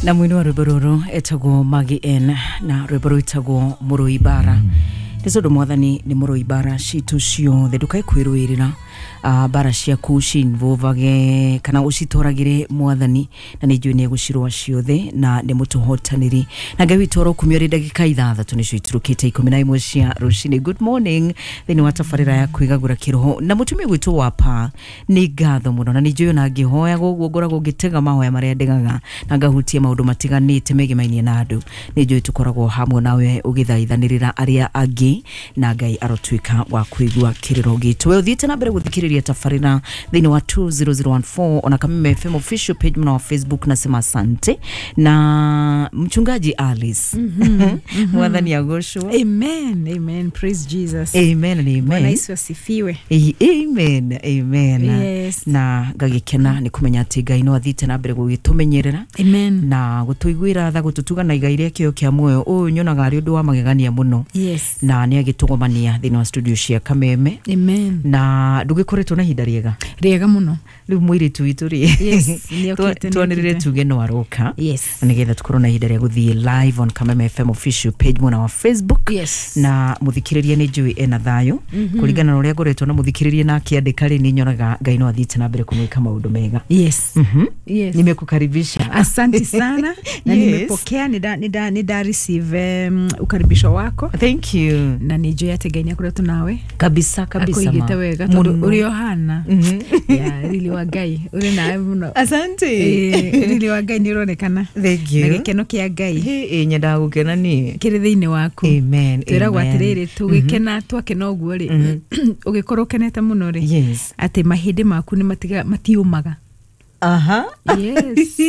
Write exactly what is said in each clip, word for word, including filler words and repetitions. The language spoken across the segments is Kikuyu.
Na mwini wa rwĩmbo rũrũ etagwo Maggie N na rwĩmbo rwĩtagwo Mũrũi Bara. Nĩ tondũ mwathani nĩ mũrũi bara citũ ciothe, ndũkae kwĩrũĩrĩra uh, bara ciaku cinvovage kana ũcitwaragĩre mwathani, na nĩ njũĩ nĩ egũcirũa ciothe na nĩ mũtũhotanĩri. Na Ngai witũ arokumio rĩ ndagĩka ithathatũ nĩcio iturũkĩte ikũmi na ĩmwe cia rũcinĩ. Good morning thĩinĩ wa tabarĩra ya kwĩgagũra kĩroho na mũtumia gwitũ wa pa nĩ ngatho mũno, na nĩ njũĩ ona ngĩhoyaga ũguo ngoragwo ngĩtega mahoya marĩa ndegaga na ngahutia maũndũ matiganĩte megemainie na andũ. Nĩ njũĩ tũkoragwo hamwe nawe ũgĩthaithanĩrĩra arĩa angĩ, na Ngai arotuĩka wa kũigua kĩrĩro gitũ. We ũthiĩte na mbere gũthikĩrĩria tabarĩra thĩinĩ wa two zero zero one four ona Kameme F M official page mna wa Facebook. Nasema asante na mchungaji Alice. mm -hmm. Mwathani agocwo. Amen, amen, praise Jesus. Amen and amen. Bwana Yesu asifiwe. Amen, amen. Yes. Na ngagĩkena nĩ kũmenya atĩ Ngai no athiĩte na mbere gũgĩtũmenyerera. Amen. Na gũtũiguĩra tha, gũtũtuga na igai rĩa kĩo kĩa muoyo. Ũyũ nyonaga arĩ ũndũ wa magegania mũno. Yes. Na nĩ agĩtũgomania thĩinĩ wa studio cia Kameme. Amen. Na ndũgĩkoretwo na ihinda rĩega. Rĩega mũno. Rĩu mũirĩtu witũ rĩ. Yes, nĩokĩte. Twanĩrĩre tuge no aroka. Yes. Na nĩgetha tũkorwo na ihinda rĩa gũthiĩ live on Kameme F M official page mwena wa Facebook. Yes. Na mũthikĩrĩria nĩ njũĩ ena thayũ. Mm -hmm. Kũringana na ũrĩa ngoretwo na mũthikĩrĩria na akĩandĩka rĩ, nĩ nyonaga Ngai no athiĩte na mbere kũmwĩka maũndũ mega. Yes. Mm -hmm. Yes. Nimekukaribisha. Asante sana. Na yes. Nimepokea, nida nida nida receive um, ukaribisho wako. Thank you. Na nĩ njũĩ atĩ Ngai nĩ akoretwo nawe. Kabisa kabisa. Akũigĩte wega tondũ ũrĩ ohana. Yeah, riri wa Ngai ũrĩ nawe mũno. Asante. Eh, riri wa Ngai nĩ ũronekana. Thank you. Na gĩkeno kĩa Ngai. Ĩ nyendaga gũkena niĩ. Kĩrĩ thĩinĩ waku. Amen. Twĩragwo atĩrĩrĩ, tũgĩkena twakena ũguo rĩ, ũgĩkorwo ũkenete mũno rĩ, yes, atĩ mahĩndĩ maku nĩ matiga matiũmaga. Aha. Yes.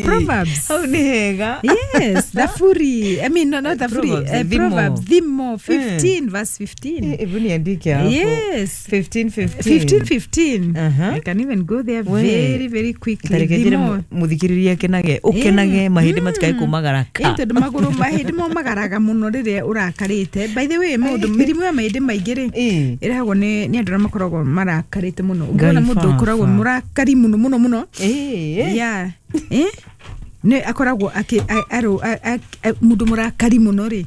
Proverbs. Hau nĩ hega. Yes, Thaburi. I mean, no, not Thaburi. Proverbs, uh, Proverbs, Thimo fifteen mm. verse fifteen. Hebu niandike hapo. Yes. fifteen fifteen. fifteen fifteen. Uh-huh. I can even go there very very quickly. Tareke muthikiriria kenage, ukenage mahĩndĩ matikae kũmagara ka. Ĩ tondũ magũrũ mahĩndĩ momagaraga mũno rĩrĩa ũrakarĩte. By the way, maũndũ mĩrimũ ya mahĩndĩ maingĩ rĩ, ĩrehagwo nĩ nĩ andũ arĩa makoragwo marakarĩte mũno. Ũngĩona mũndũ ũkoragwo mũrakari mũno mũno mũno. Eh, yeah. Eh? Ne akoragwo aki aro mundu murakari muno ri,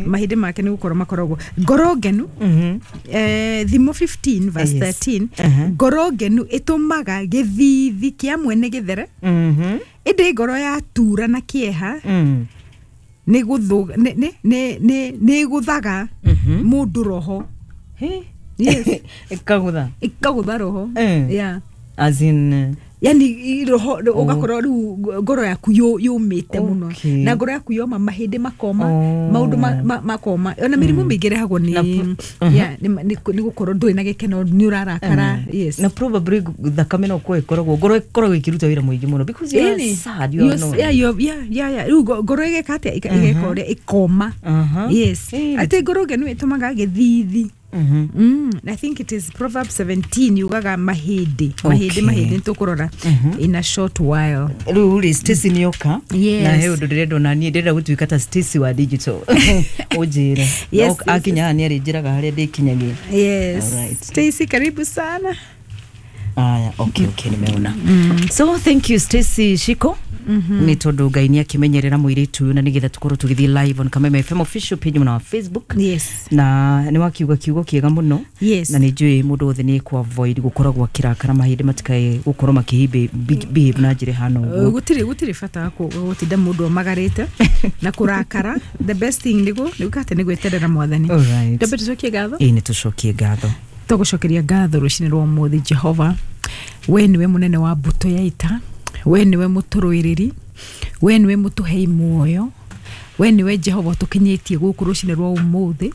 mahĩndĩ make nĩ gũkorwo makoragwo ngoro ngenu. Eh, Thimo fifteen verse thirteen. Ngoro ngenu ĩtũmaga gĩthithi kĩa mwene gĩthere. Ĩndĩ ngoro ya tura na kĩeha nĩ gũthũga nĩ nĩ nĩ nĩ gũthaga mũndũ roho. Yes. Ĩkagũtha. Ĩkagũtha roho. Yeah. As in yani roho ugakorwo riu ngoro yaku yumite muno, na ngoro yaku yoma mahĩndĩ makoma, maũndũ makoma, ona mĩrimũ mĩingĩ ĩrehagwo nĩ yeah nĩ gũkorwo ndũrĩ na gĩkeno, nĩ ũrarakara. Yes. Na probably thakame no ko ĩkoragwo ngoro ĩkoragwo ĩkĩruta wĩra mũingĩ mũno because you are sad, you are annoyed. Yeah, yeah, yeah, yeah. Riu ngoro ĩgeka atĩa? Ĩgeka ũrĩa ĩkoma. Yes. Atĩ ngoro ngenu ĩtũmaga gĩthithi. Mm-hmm. Mm, I think it is Proverbs seventeen yugaga mahĩndĩ mahĩndĩ mahĩndĩ nĩtũkũrora in a short while. Rĩu rĩ Stacy nĩoka. Yes. Na he ũndũ ndĩrenda ona niĩ ndĩrenda gũtuĩka ta Stacy wa digital. Ũnjĩre. Yes, akinya haha nĩarĩnjĩraga harĩa ndĩkinyagia. Yes. Alright. Stacy, karibu sana. Aya, okay, okay, nimeona. Mm. So thank you Stacy Shiko. Mm -hmm. Nĩ tondũ Ngai nĩ akĩmenyerera mũirĩtu ũyũ na nĩgetha tũkorwo tũgĩthiĩ live on Kameme F M official page na Facebook. Yes. Na nĩ wakiuga kiugo kĩega mũno. Yes. Na nĩ njũĩ mũndũ wothe nĩ ku avoid gũkoragwo akĩrakara mahĩndĩ matikae gũkorwo makĩhimbe behave na njĩra ĩhana ũguo. Gũtirĩ gũtirĩ bata wa gũtinda mũndũ omagarĩte na kũrakara. The best thing nĩguo nĩ atĩ nĩ gweterera mwathani. Alright. Twambe tũcokie ngatho. Ĩĩ nĩ tũcokie ngatho. Tũgũcokeria ngatho rũcinĩ rwa ũmũthĩ Jehova. We nĩwe mũnene wa mbũtũ ya ita, we nĩwe mũtũrũĩrĩri, we nĩwe mũtũhei muoyo, we nĩwe Jehova ũtũkinyĩtie gũkũ rũcinĩ rwa ũmũthĩ,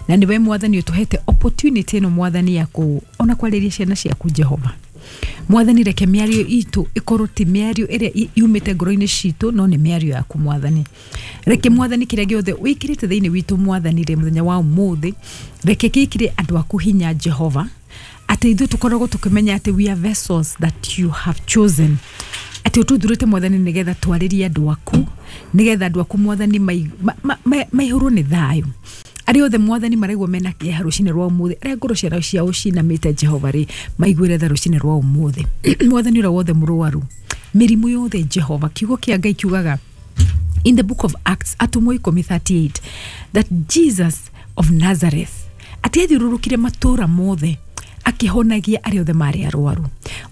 na nĩwe mwathani ũtũhete opportunity ĩno mwathani ya kũ ona kwarĩria ciana ciaku Jehova. Mwathani reke mĩario itũ ĩkorwo ti mĩario ĩrĩa yumĩte ngoro-inĩ citũ, no nĩ mĩario yaku mwathani. Reke mwathani kĩrĩa gĩothe wĩkĩrĩte thĩinĩ witũ mwathani rĩ mũthenya wa ũmũthĩ, reke gĩkĩre andũ aku hinya Jehova, atĩ ithuĩ tũkoragwo tũkĩmenya atĩ we are vessels that you have chosen, atĩ ũtũthurĩte mwathani nĩgetha twarĩrie andũ aku, nĩgetha andũ aku mwathani maihũrwo nĩ thayũ. Arĩa othe mwathani maraigua mena kĩeha rũcinĩ rwa ũmũthĩ, arĩa ngoro ciao ciao cinamĩte Jehova rĩ, maiguĩre tha rũcinĩ rwa ũmũthĩ. Mwathani ũrĩa wothe mũrwaru, mĩrimũ yothe Jehova, kiugo kĩa Ngai kiugaga In the book of Acts, atũmwo ikũmi thirty-eight, that Jesus of Nazareth atĩ athiũrũrũkire matũũra mothe akĩhonagia arĩa othe marĩ arwaru,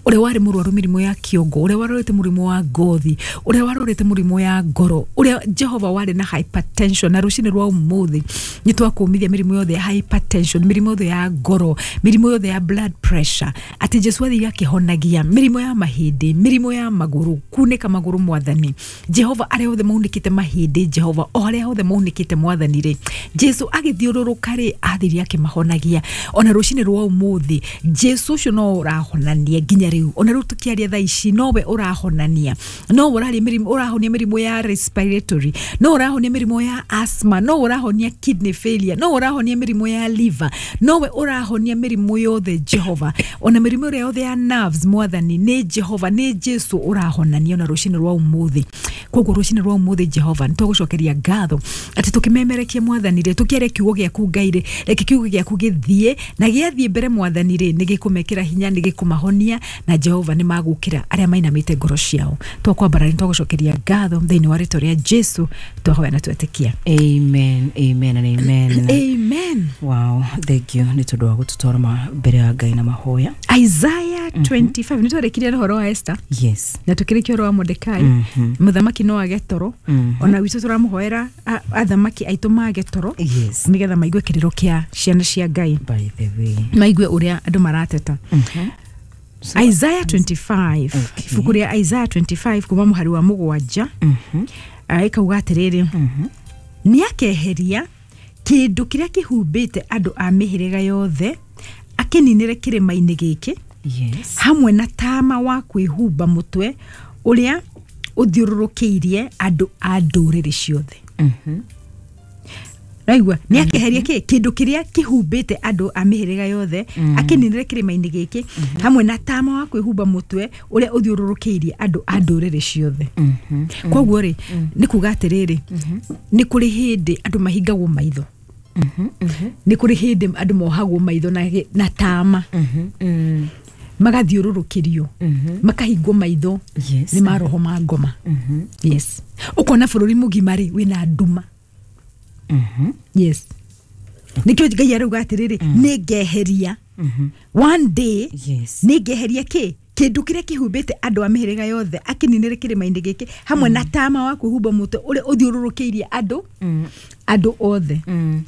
ũrĩa warĩ mũrwaru mĩrimũ ya kĩongo, ũrĩa warwarĩte mũrimũ wa ngothi, ũrĩa warwarĩte mũrimũ ya ngoro, ũrĩa Jehova warĩ na hypertension. Na rũcinĩ rwa ũmũthĩ nĩ twakũmithia mĩrimũ yothe ya hypertension, mĩrimũ yothe ya ngoro, mĩrimũ yothe ya blood pressure, atĩ Jesu athire akĩhonagia mĩrimũ ya mahĩndĩ, mĩrimũ ya magũrũ, kunĩka magũrũ mwathani Jehova, arĩa othe maunĩkĩte mahĩndĩ Jehova, o arĩa othe maunĩkĩte mwathani rĩ, Jesu agĩthiũrũrũka rĩ, athire akĩmahonagia. Ona rũcinĩ rwa ũmũthĩ Jesu ũcio no ũrahonania nginya rĩu, ona rĩu tũkĩaria thaa ici nowe ũrahonania, no ũraria mĩrimũ, ũrahonia mĩrimũ ya respiratory, no ũrahonia mĩrimũ ya asthma, no ũrahonia kidney failure, no ũrahonia mĩrimũ ya liver, nowe ũrahonia mĩrimũ yothe Jehova, ona mĩrimũ ĩrĩa yothe ya nerves mwathani, nĩ Jehova, nĩ Jesu ũrahonania ona rũcinĩ rwa ũmũthĩ. Koguo rũcinĩ rwa ũmũthĩ Jehova nĩ twagũcokeria ngatho atĩ tũkĩmemerekia mwathani rĩ, tũkĩaria kiugo gĩaku Ngai rĩ, reke kiugo gĩaku gĩthiĩ na gĩathiĩ mbere mwathani rĩ, nĩ gĩkũmekĩra hinya, nĩ gĩkũmahonia, na Jehova nĩ magũkĩra arĩa mainamĩte ngoro ciao. Twakwambara nĩ twagũcokeria ngatho thĩinĩ wa rĩtwa rĩa Jesu twahoya na twetĩkia. Amen, amen and amen. Amen. Wow, thank you nĩ tondũ wa gũtũtwara ma- mbere ya Ngai na mahoya. Isaiah twenty-five, nĩ twarĩkirie ũhoro wa Esther Yes. na tũkĩrĩkia ũhoro wa Mordekai. Mhm. Mũthamaki no age toro, Mhm. ona witũ tũramũhoera a- athamaki aitũ mage toro, Yes. nĩgetha maigue kĩrĩro kĩa ciana cia Ngai, By the way. maigue ũrĩa andũ marateta. Mhm. So, Isaiah twenty-five, Okay. ibuku rĩa Isaiah twenty-five kuma mũhari wa mũgwanja, Mhm. ah, ĩkauga atĩrĩrĩ, Mhm. nĩ akeheria kĩndũ kĩrĩa kĩhumbĩte andũ a mĩhĩrĩga yothe, akĩninĩre kĩrĩma-inĩ gĩkĩ, Yes. hamwe na tama wa kwĩhumba mũtwe ũrĩa ũthiũrũrũkĩirie andũ a ndũrĩrĩ ciothe. Mhm. Raigua, nĩ akeheria kĩ kĩndũ kĩrĩa kĩhumbĩte andũ a mĩhĩrĩga yothe, akĩninĩre kĩrĩma-inĩ gĩkĩ, hamwe na tama wa kwĩhumba mũtwe ũrĩa ũthiũrũrũkĩirie andũ a ndũrĩrĩ ciothe. Mhm. Koguo rĩ, nĩ kuga atĩrĩrĩ, nĩ kũrĩ hĩndĩ andũ mahingagwo maitho, Mhm. Mhm. nĩ kũrĩ hĩndĩ andũ mohagwo maitho na, gĩ- na tama, Mhm. Mm. magathiũrũrũkĩrio, Mhm. makahingwo maitho Yes. nĩ maroho ma ngoma. Mhm. Yes, ũkona bũrũri mũgima rĩ wĩna nduma. Mhm. Yes, nĩkĩo Ngai arauga atĩrĩrĩ, nĩ ngeheria Mhm. one day, Yes. nĩ ngeheria kĩ kĩndũ kĩrĩa kĩhumbĩte andũ a mĩhĩrĩga yothe, akĩninĩre kĩrĩma-inĩ gĩkĩ, hamwe na tama wa kwĩhumba mũtwe ũrĩa ũthiũrũrũkĩirie andũ Mm. andũ othe. Mm.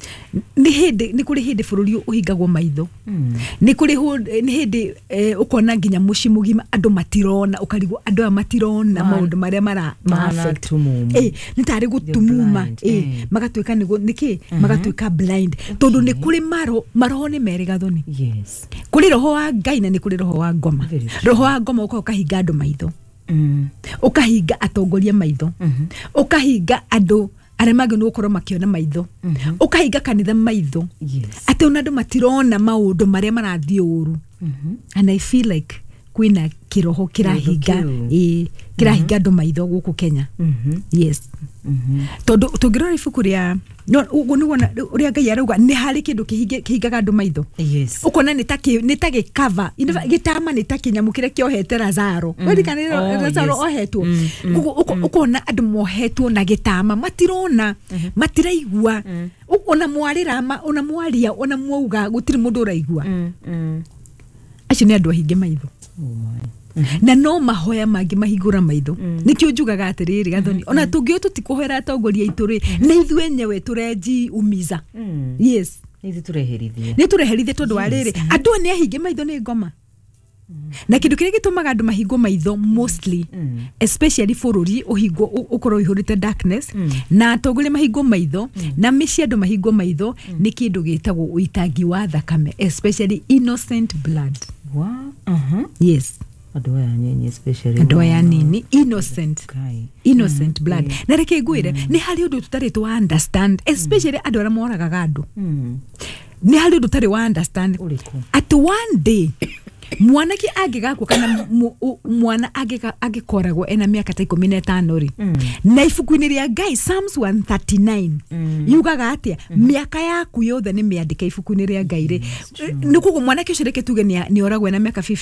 Nĩ hĩndĩ, nĩ kũrĩ hĩndĩ bũrũri ũhingagwo maitho. Mm. Nĩ kũrĩ hũ- nĩ hĩndĩ eh, ũkona nginya mũciĩ mũgima andũ matirona, ũkarigwo andũ aya matirona Ma- maũndũ marĩa mara ma Mahana affect. tumumu. Eh, nĩ tarĩ gũtumuma, blind, eh, eh. magatuĩka nĩ nĩkĩ magatuĩka blind, tondũ nĩ kũrĩ maro maroho nĩ merĩ gathoni. Yes. Kũrĩ roho wa Ngai na nĩ kũrĩ roho wa ngoma. Very true. Roho wa ngoma ũkaga ũkahinga andũ maitho, Mm. ũkahinga atongoria maitho, Mhm. ũkahinga andũ arĩa mangĩ nĩ gũkorwo makĩona maitho, Mhm. ũkahinga kanitha maitho, Yes. atĩ ona andũ matirona maũndũ marĩa marathiĩ ũru. Mhm. And I feel like kwĩna kĩroho kĩrahinga, kĩu. ĩĩ, kĩrahinga andũ maitho gũkũ Kenya. Mhm. Yes, Mhm. tondũ tũngĩrora ibuku rĩa no, ũguo nĩguo na- ũrĩa Ngai arauga, nĩ harĩ kĩndũ kĩhinge- kĩhingaga andũ maitho. Yes. Ũkona nĩ ta kĩ- nĩ ta gĩkava, gĩtama nĩ ta kĩnyamũ kĩrĩa kĩohete Lazaro. Weririkana Oh, Lazaro yes. ohetwo? Mm, mm, Koguo ũko- ũkona andũ mohetwo na gĩtama, matirona, matiraigua. Ũ- ona mwarĩra ma- ona mwaria, ona mwauga, gũtirĩ mũndũ ũraigua. Mm. Mm. Acio nĩ andũ ahinge maitho. Oh my. Na no mahoya mangĩ mahingũra maitho. Nĩkĩo njugaga atĩrĩrĩ gathoni, ona tũngĩo tũtikũhoera atongoria aitũ rĩ, nĩ ithuĩ enyewe tũrenji umiza. Mm. Yes. Nĩ ithuĩ tũreherithie. Nĩ tũreherithie, tondũ wa rĩrĩ, andũ aya nĩ ahinge maitho nĩ ngoma, na kĩndũ kĩrĩa gĩtũmaga andũ mahingwo maitho mostly, Mm. especially bũrũri ũhingwo, ũ- ũkorwo ũihũrĩte darkness, na atongoria mahingwo maitho, na mĩciĩ andũ mahingwo maitho, nĩ kĩndũ gĩtagwo ũitangi wa thakame, especially innocent blood. Wa. Mhm. Yes. Andũ aya nyenye especially. Andũ aya nini, innocent, Kai. innocent blood. Na reke ngwĩre, nĩ harĩ ũndũ tũtarĩ twa understand, especially andũ arĩa moragaga andũ. Mm. Nĩ harĩ ũndũ ũtarĩ wa understand, Ũrĩkũ? atĩ one day mwanake angĩgakua, kana mu- u- mwana angĩga- angĩkoragwo ena mĩaka ta ikũmi na ĩtano rĩ, Mm. na ibuku-inĩ rĩa Ngai Psalms one thirty-nine yugaga atĩa? Mĩaka yaku yothe nĩ mĩandĩke ibuku-inĩ rĩa Ngai rĩ. Nĩ koguo mwanake ũcio, reke tuge nĩ nĩ oragwo ena mĩaka fifteen.